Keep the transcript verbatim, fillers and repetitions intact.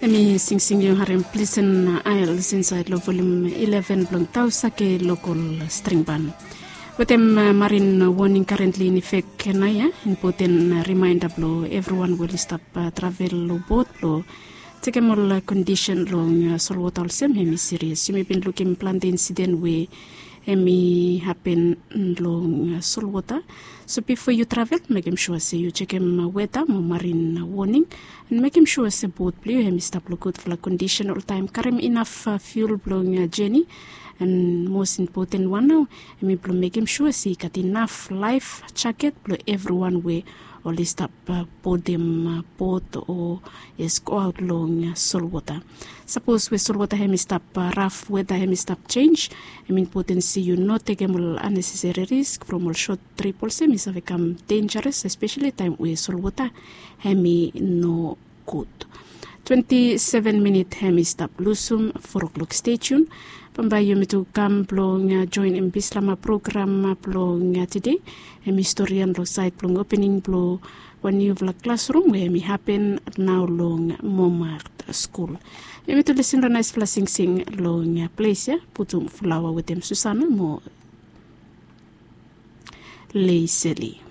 Mi singsing yu harim plisen ael sinsaed long volim ileven blong tausake lokol stringban. Wetem marin woning karentli in ifek nao ya, impoten rimaenda blong evriwan we oli stap travel long bot blong tekem ol kondisen long solwota olsem hem i sirias. Yumi bin lukim plante insiden we hem i hapen long solwota. So bifo yu travel, mekem sua se yu jekem weta mo marin woning, an mekem sua se bot blong yu hem i stap long gudfala kondisen oltaem, karem inaf fiul blong jeni. An mos impoten wan nao hem i blong mekem sua se i gat inaf laef jaket blong evriwan we oli stap bodim bot o yes goaot long solwota. Sapos we solwota hem i stap raf, weta hem i stap jenj, hem impoten se yu no tekem ol aneseseri risk from ol sot trip olsem i save kam denjares, espeseli taem we solwota hem i no gud. Twenti seven minit hem i stap lusum four o'clock. Stay tune. Bambae yumi tu kam blong joenem bislama program blong tede. Hem i storian long saed blong opening blong wan niufala klasrum we hem i hapen nao long Momart skul. Yumi tu lisin long naesfala singsing long ples ya, putum flaoa wetem Susana mo Leiseli.